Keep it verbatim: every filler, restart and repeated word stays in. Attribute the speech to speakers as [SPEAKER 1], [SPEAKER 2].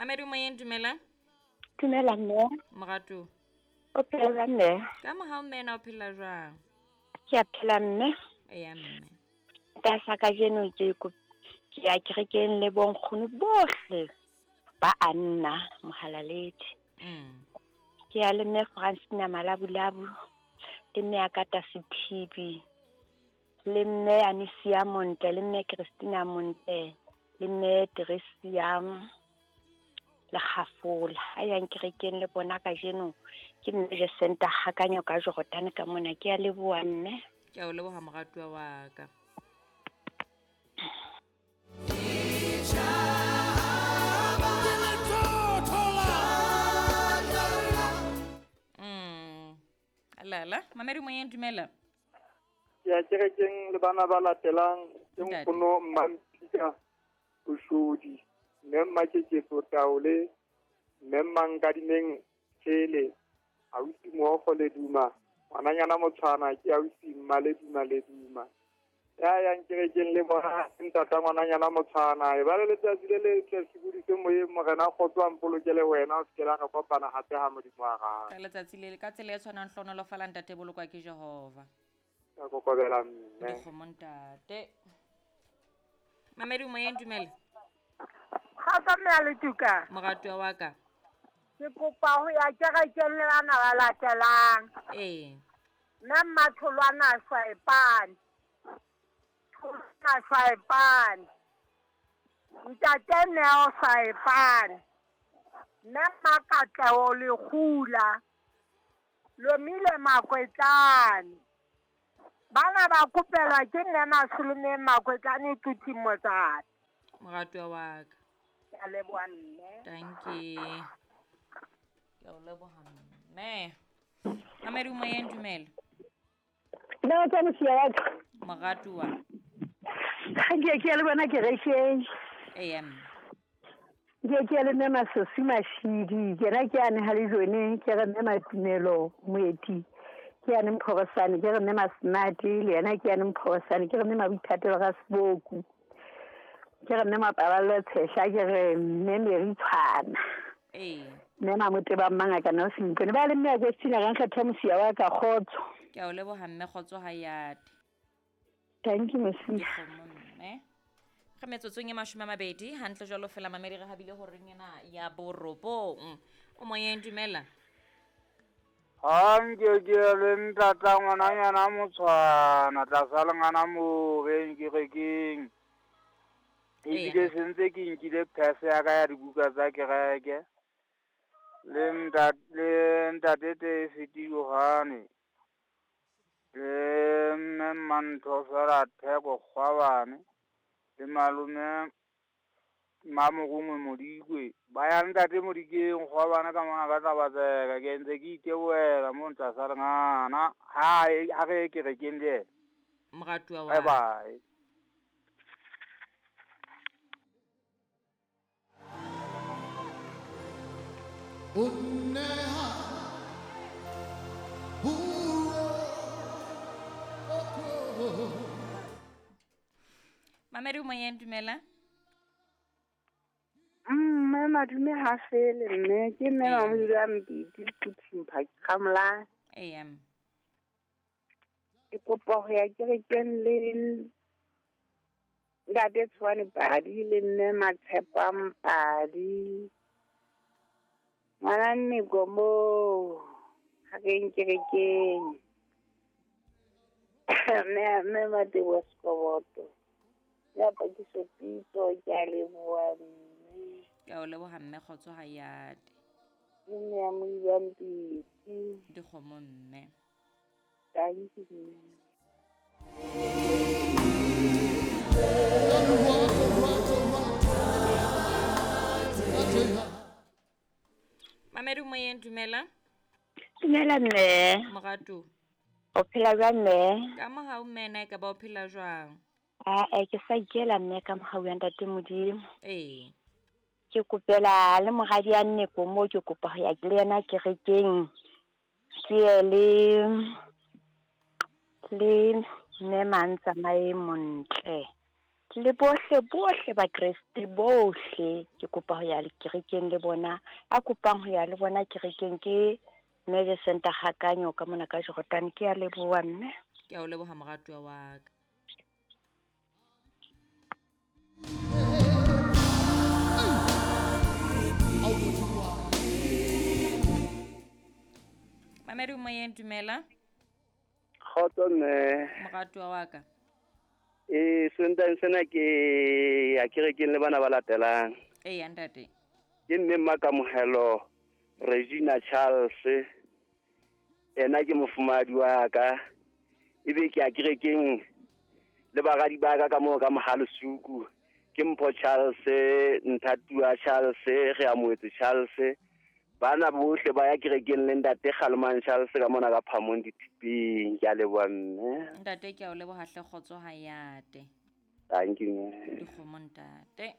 [SPEAKER 1] Mamedi moyeng, dumela.
[SPEAKER 2] Dumela mme.
[SPEAKER 1] Moratu.
[SPEAKER 2] O phela jwang mme?
[SPEAKER 1] Ka mohau mme, na o phela jwang?
[SPEAKER 2] Ke a phela mme.
[SPEAKER 1] Eya mme.
[SPEAKER 2] Ka kajeno ke ke ya kerekeng le bonkgono bohle ba Anna Mohalaledi.
[SPEAKER 1] Mm.
[SPEAKER 2] Ke ya le mme Francina Malabulabu, le mme Akata Sethibi, le mme Anisia Monte, le mme Christina Monte, le mme Teresia le Kgafola. A yang kerekeng le bona kajeno ke mme Jacinta Hakanyo ka Jordan ka mona. Ke a leboha mme.
[SPEAKER 1] Ke a o leboha moratuwa wa ka. Mm. Alala, mamedi moyeng, dumela.
[SPEAKER 3] Ke ya kerekeng le bana ba latelang ke nkgono Mmampika Boshodi, mme Mmakeketso Taole, mme Mmankadimeng Tshele, ausi Mookgo Leduma, ngwananyana Motshwana ke ausi Mmaleduma Leduma. Ya yang kerekeng le bona ntata ngwananyana Motshwana, e ba le letsatsi le letle sebudise moyeng, Morena kgotso a mpolokele wena, o se ke la re kopana hape ha Modimo a rata.
[SPEAKER 1] Ka letsatsi le ka tsela e tshwanang hlohonolofala ntate, bolokwa ke Jehova.
[SPEAKER 3] Ka kokobela mme.
[SPEAKER 1] Dikgomo ntate. Mamedi moyeng, dumela.
[SPEAKER 4] Kgotso mme a Letuka.
[SPEAKER 1] Moratuwa wa ka.
[SPEAKER 4] Ke kopa ho ya kerekeng le bana ba latelang.
[SPEAKER 1] Ee.
[SPEAKER 4] Mme Mmatholwana Shwaepane. Tholwana Shwaepane. Ntate Neo Shwaepane. Mme Mmakatleho Lekgula. Lomile Makwetlane. Bana ba kopelwa ke nne Masolomeng Makwetlane Tuti Motsana.
[SPEAKER 1] Moratuwa wa ka.
[SPEAKER 4] Ke a leboha mme.
[SPEAKER 1] Thank you. Ke a o leboha mme. Mamedi moyeng, dumela.
[SPEAKER 5] Nna tsa mosia wa ka.
[SPEAKER 1] Moratuwa.
[SPEAKER 5] Ha ke ke le bona kerekeng.
[SPEAKER 1] Eya mme.
[SPEAKER 5] Ke ke le mme Masosi Mashidi, ke na ke ane ha le jone, ke re mme Matumelo Moeti. Ke ane Mphorosane, ke re mme Masnati, le yena ke ane Mphorosane, ke re mme Mabithatelo ga Seboku. Ke re mme Mapaballo Tshehla, ke re mme Mary Tshwana.
[SPEAKER 1] Ee.
[SPEAKER 5] Mme Mamoteba Mmangaka na o Sempone. Ba le mme Agostina ga nkgetha mosia wa ka, kgotso.
[SPEAKER 1] Ke a o leboha mme, kgotso ha yate.
[SPEAKER 5] Thank you mosia.
[SPEAKER 1] Dikgomo mme. Re metsotsong e mashome a mabedi hantle jwalo fela mamedi re habile horeng ena ya borobong. O moyeng, dumela.
[SPEAKER 6] Ha nke ke le ntata ngwananyana Motshwana tlasa lengana mo beng kerekeng. Ebile sentse ke nkile phese ya ka ya dibuka tsa kereke. Le ntate le ntate Tefiti Yohane. Le mme Mantho fela Theko Kgwabane. Le malome Mamorongwe Modikwe. Ba ya ntate Modikeng Kgwabane ka mona ka tlabatseka. Ke ntse ke itebohela mo tlasa lengana. Ha ha re kerekeng le yena.
[SPEAKER 1] Moratuwa wa
[SPEAKER 6] Bye bye.
[SPEAKER 1] Mamedi moyeng, dumela.
[SPEAKER 7] Mme madume ha fele mme, ke mme Mamodula Mpiti Phuthing Khamla.
[SPEAKER 1] Eya.
[SPEAKER 7] Ke kopa ho ya kerekeng le ntate Tshwane Padi le mme Matshepang Padi. Ngwana Nneko moo ha re kerekeng. Mme mme Matebo Sekoboto. Ya pakiso pitso, ke a leboha mme.
[SPEAKER 1] Ke a o leboha mme, kgotso ha yate.
[SPEAKER 7] Ke mme ya Modula Mpiti.
[SPEAKER 1] Dikgomo mme.
[SPEAKER 7] Thank you mme.
[SPEAKER 1] Mamedi moyeng, dumela.
[SPEAKER 2] Dumela mme.
[SPEAKER 1] Moratu.
[SPEAKER 2] O phela jwang mme?
[SPEAKER 1] Ka mohau mme, na e ka ba o phela jwang?
[SPEAKER 2] Ah, ke sa ikela mme ka mohau ya ntate Modimo.
[SPEAKER 1] Ee.
[SPEAKER 2] Ke kopela le moradi ya Nneko moo, ke kopa ho ya le yena kerekeng. Ke ye le le mme Mantsamae Montle. Le bohle bohle Bakreste bohle ke kopa ho ya kerekeng le bona. A kopang ho ya le bona kerekeng ke Mme Center Gakanyo ka mona ka Jordan. Ke a leboha mme.
[SPEAKER 1] Ke a o leboha moratuwa wa ka. Mamedi moyeng, dumela.
[SPEAKER 8] Kgotso mme.
[SPEAKER 1] Moratuwa wa ka.
[SPEAKER 8] Eh, Sontaha sena ke ya kerekeng le bana ba latelang.
[SPEAKER 1] Ee, ntate.
[SPEAKER 8] Ke mme Mmakamohelo Regina Charles. Ena ke mofumahadi wa ka. Ebe ke ya kerekeng le baradi ba ka ka moo ka Mohalesuku. Ke Mpho Charles, Nthatua Charles, re amohetse Charles. Bana bohle ba ya kerekeng le ntate Kgalemang Charles ka mona ka Phamong dithipeng. Ke a leboha mme.
[SPEAKER 1] Ntate ke a o leboha hle, kgotso ha yate.
[SPEAKER 8] Thank you mme.
[SPEAKER 1] Dikgomo ntate.